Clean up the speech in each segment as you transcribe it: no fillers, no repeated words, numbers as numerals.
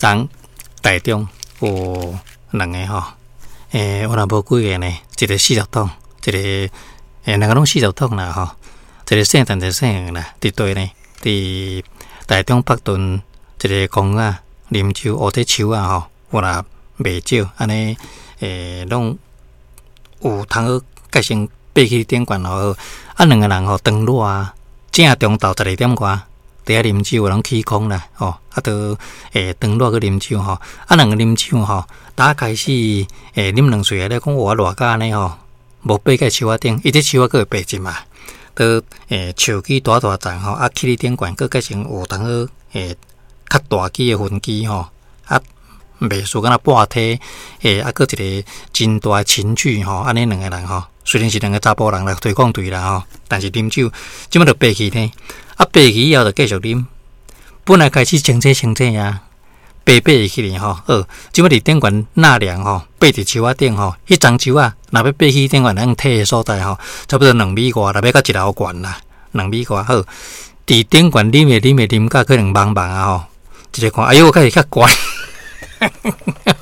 昨台中有兩个吼，我若無幾个呢，一个40桶，一个兩个攏四十桶啦吼，一个姓陳，一个姓黃啦，佇佗呢？佇台中北屯一个公園啉酒，烏佇樹仔吼，有若袂少，按呢攏有通好蓋成爬去頂懸吼，啊兩个人吼當熱啊，正中晝12點外。佇遐啉酒，攏起空啦，吼，啊，都當熱去啉酒吼，啊，兩个啉酒吼，打開始啉兩喙咧，講哇熱甲按呢吼，無爬過樹仔頂，伊佇樹仔閣會爬一嘛，都樹枝大大叢吼，啊，起佇頂懸，閣改成有通好較大支的分支吼，啊，袂輸敢若半梯，啊，閣一个真大的琴具吼，按呢兩个人吼，雖然是兩个查埔人來推廣隊啦吼，但是啉酒，這擺就爬去呢。啊，爬去以後就繼續啉。本來開始清醒清醒啊，爬爬會起來吼，好，這擺佇頂懸納涼吼，爬佇樹仔頂吼，彼叢樹仔若欲爬去頂懸通提的所在吼，差不多2米外，若欲到一樓懸啦，兩米外好。佇頂懸啉的啉的啉甲可能茫茫啊吼，一个看，哎喲，開始較懸。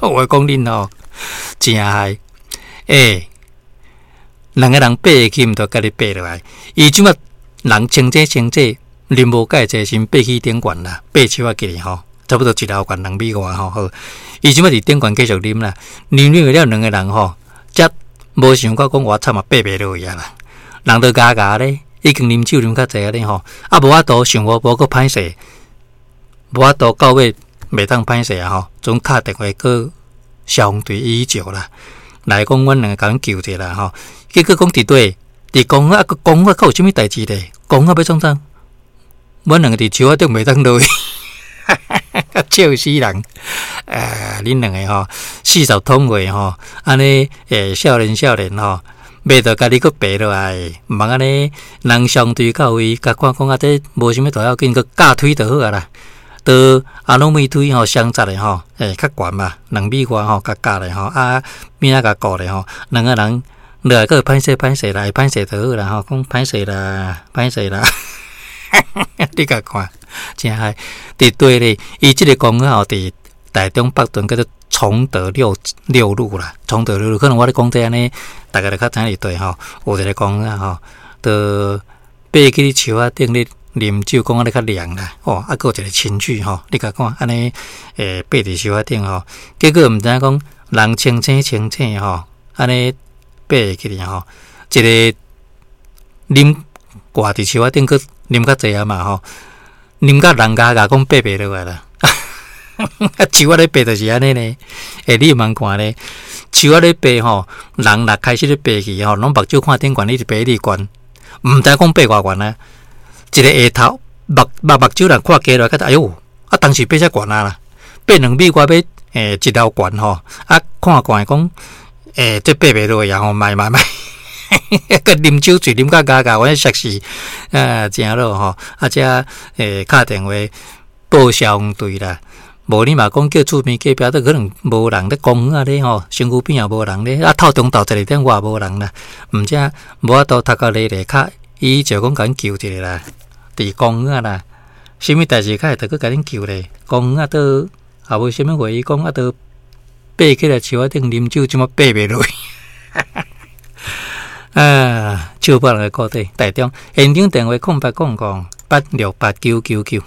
我講恁吼，誠害，兩个人爬會去，毋著家己爬落來。伊這擺人清醒清醒。啉無蓋濟，先爬去頂懸啦，爬樹仔起來吼，差不多一樓懸2米外吼。好，伊這擺佇頂懸繼續啉啦，啉啉了兩个人吼，才無想到講我慘啊，爬袂落去啊啦，人都咬咬咧，已經啉酒啉較濟啊咧吼，啊無法度想無無閣歹勢，無法度到尾袂當歹勢啊吼，陣敲電話閣消防隊119啦，來講阮兩个共阮救者啦吼，結果講佇佗佇公園啊，公園閣有啥物代誌咧？公園欲創啥？阮兩个佇樹仔頂袂當落去，笑死人！恁兩个吼40桶過吼，按呢少年少年吼，袂著家己閣爬落來，毋通按呢人相對到位，共看講啊，這無啥物大要緊，閣架推就好啊啦。都阿攏米推吼，雙紮的吼，較懸嘛，2米外吼，共架咧吼，啊邊仔共顧咧吼，兩个人落來閣歹勢歹勢啦，歹勢就好啦吼，講歹勢啦，歹勢啦。你共看，誠害佇佗咧，伊這个公園吼，佇台中北屯叫做崇德六六路啦，崇德六路，可能我咧講這按呢，大家就較知影佇佗吼，有一个公園吼，就爬去樹仔頂咧啉酒，講按呢較涼啦，哦，啊，閣有一個親具吼，你共看按呢，爬佇樹仔頂吼，結果毋知影講人清醒清醒吼，按呢爬會起來吼，一个啉掛佇樹仔頂閣啉較濟啊嘛吼，啉甲人咬咬講爬袂落來啦。樹仔咧爬就是按呢呢，你毋通看咧，樹仔咧爬吼，人若開始咧爬去吼，攏目睭看頂懸，一直爬一直懸，毋知講爬偌懸啊。一个下頭目目目睭人看低落來，覺得哎喲，啊當時爬遮懸啊啦，爬2米外欲一樓懸吼，啊看懸講這爬袂落來吼，莫莫莫。閣啉酒醉啉甲咬咬，阮熟似啊，誠好吼！啊，遮敲電話報消防隊啦，無你嘛講叫厝邊隔壁都可能無人咧公園仔咧吼，身軀邊也無人咧，啊，透中晝12點外無人啦，毋知無法度讀到咧咧，較伊就講共阮救一下啦，佇公園仔啦，啥物代誌較會著閣共恁救咧？公園仔都也無啥物話，伊講啊，都爬起來樹仔頂啉酒，這馬爬袂落去。啊，笑破人的褲底，台中現場電話0800868999。